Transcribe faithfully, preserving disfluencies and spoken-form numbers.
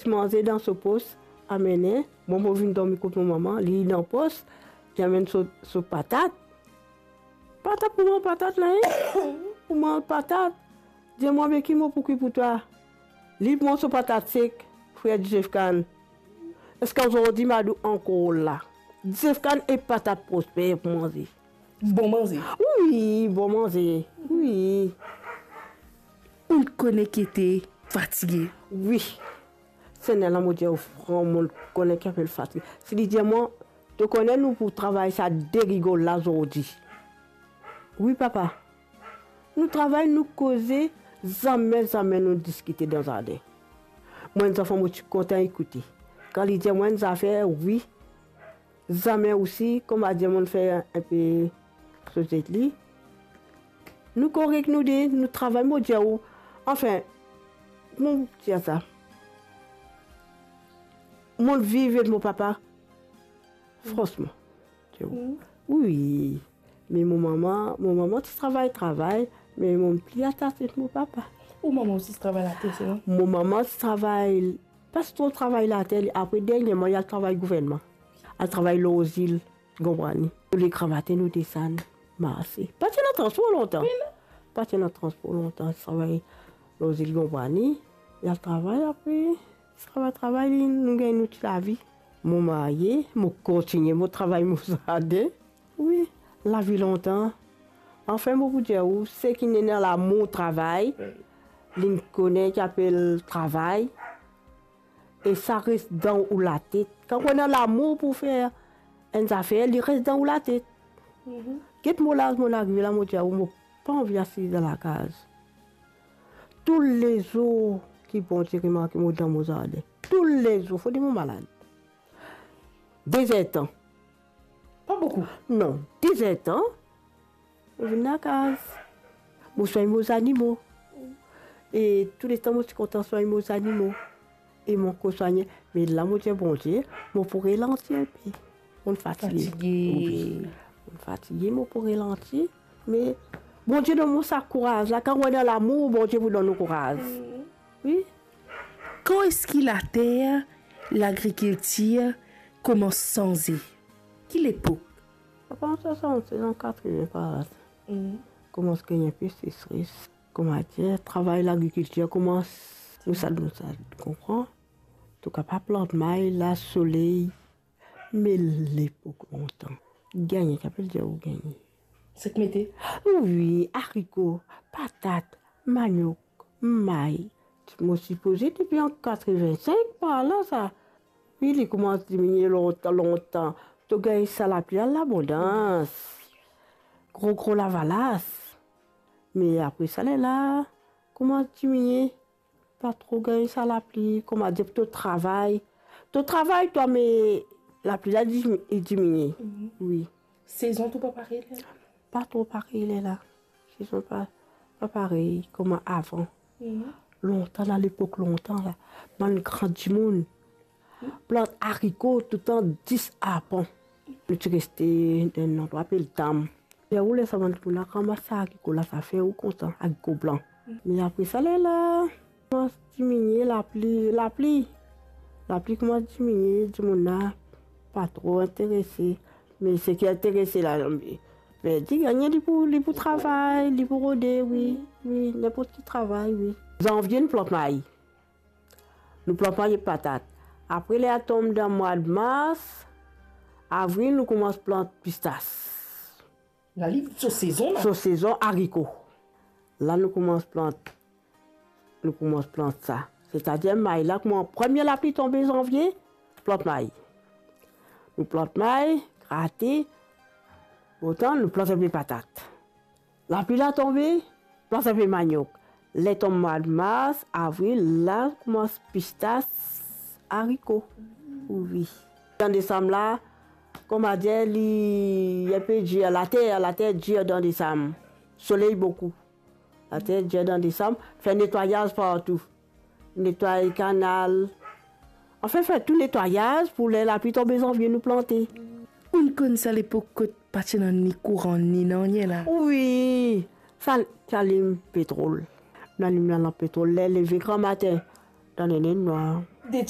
Ti manze dan so pos, amene. Mwa, mo vinn dormi kot mo mama, li dan pos, li amenn so, so patat. Patat pou mwa, patat la, en? Pou mwa, patat. Dir mwa, be ki mo pou kwi pou twa? Li pran so patat sek, frer Dizefkann. Ziska zordi, mo dir ou ankor la. Dizefkann e patat Prosper pou manze. Bon manze. Wi, bon manze. Wi. Ou kone ki ete fatige. Wi. Segner la, mo dir ou fran, mo kone ki apel fatige. Si li dir mwa, to kone nou pou travay sa de rigol la zordi. Wi, papa. Nou travay, nou koze, zame, zame nou diskite dan zardin. Mwa, enn zafer, mo ti kontan ekoute. Kan li dir mwa enn zafer, wi, zame osi, kouma dir, mo fer enpe soz ek li. Nou korek nou de, nou travay, mo dir ou. Anfin, mo dir sa. Mo viv ek mo papa. Fransman. Wi. Me mo mama, mo mama ti travay, travay, me mo pli atase ek mo papa. Ou mama osi ti travay later, se vre? Mo mama ti travay, pa tro travay later, apre dernieman, li al travay gouvernman. Al travay lor zil Gonbwani. Toulekrwa matin nou desann marse. Pa ti ena transpor lontan. Wi, non. Pa ti ena transpor lontan, travay lor zil Gonbwani. Li al travay, apre travay, travay, li, nou gagn nou ti lavi. Mo marye, mo kontigne mo travay mo zardin. Wi, lavi lontan. Anfin, mo pou dir ou, seki ena lamour travay, linn kone ki apel travay, e sa res dan ou latet. Kan ou ena lamour pou fer enn zafer, li res dan ou latet. Get mo laz mo arive la, mo dir ou, mo pa anvi asiz dan lakaz. Toulezour ki Bondie remarke mo dan mo zardin, toulezour, fode mo malad. Dezertan. Pa boukou? Non, dezertan, mo vinn lakaz. Mo swagn mo zanimo. E touletan mo ti kontan swagn mo zanimo. E mo kor swagne. Me la mo dir Bondie, mo pou ralanti enpe. Mo fatige. Fatige. Wi. Mo fatige, mo pou ralanti. Me Bondie donn mwa sa kouraz la. Kan ou ena lamour, Bondie pou donn ou kouraz. Wi. Kan eski later lagrikiltir koumans sanze? Ki lepok? Sa koumans sanze dan katreven par la. Koumans gagn enpe sesres. Kouma dir, travay lagrikiltir koumans, nou sa, nou sa konpran. To kapav plant may, la soley, me lepok lontan, gagne, ki apel dir ou gagne. Sek mete? Wi, ariko, patat, manok, may. Mo sipoze depi an katreven-sink par la sa. Wi, li koumans diminie lontan, lontan. To gagn sa lapli al labondans. Gro, gro lavalas. Me apre sa, lerla koumans diminie. Pa tro gagn sa lapli, kouma dir, to travay. To travay twa, me lapli la dimi-, diminie. Wi. Sezon tou pa parey lerla? Pa tro parey lerla. Sezon pa, pa parey kouma avan. Lontan la, lepok lontan la, bann gran dimoun plant ariko toutan dis arpan. Nou ti reste dan enn landrwa apel Dam. Ler ou, ler sa bann dimoun la ramas sa ariko la, sa fer ou kontan, ariko blan. Me apre sa, lerla koumans diminie lapli, lapli. Lapli koumans diminie, dimoun la pa tro interese. Me seki interese la, verdi gagne, li pou, li pou travay, li pou rode, wi, wi, ninport ki travay, wi. Zanvie, nou plant may. Nou plant may ek patat. Apre, ler tonm dan mwa mars, avril, nou koumans plant pistas. La li so sezon la? So sezon ariko. La nou koumans plant, nou koumans plant sa. Setadir may la, kouma premie lapli tonbe zanvie, plant may. Nou plant may, grate, otan nou plant enpe patat. Lapli la tonbe, plant enpe manok. Ler tonm mwa mars, avril, la koumans pistas, ariko. Wi. Dan desam la, kouma dir, li enpe dir, later, later dir dan desam. Soley boukou. Later dir dan desam, fer netwayaz partou. Netway kanal. Anfin, fer tou netwayaz pou ler lapli tonbe zanvie nou plante. Ou konn sa lepok kot pa ti ena ni kouran, ni nanye la? Wi, sa, ti alim petrol. Nou alim lalanp petrol, ler leve gramatin, dan lenwar. De ti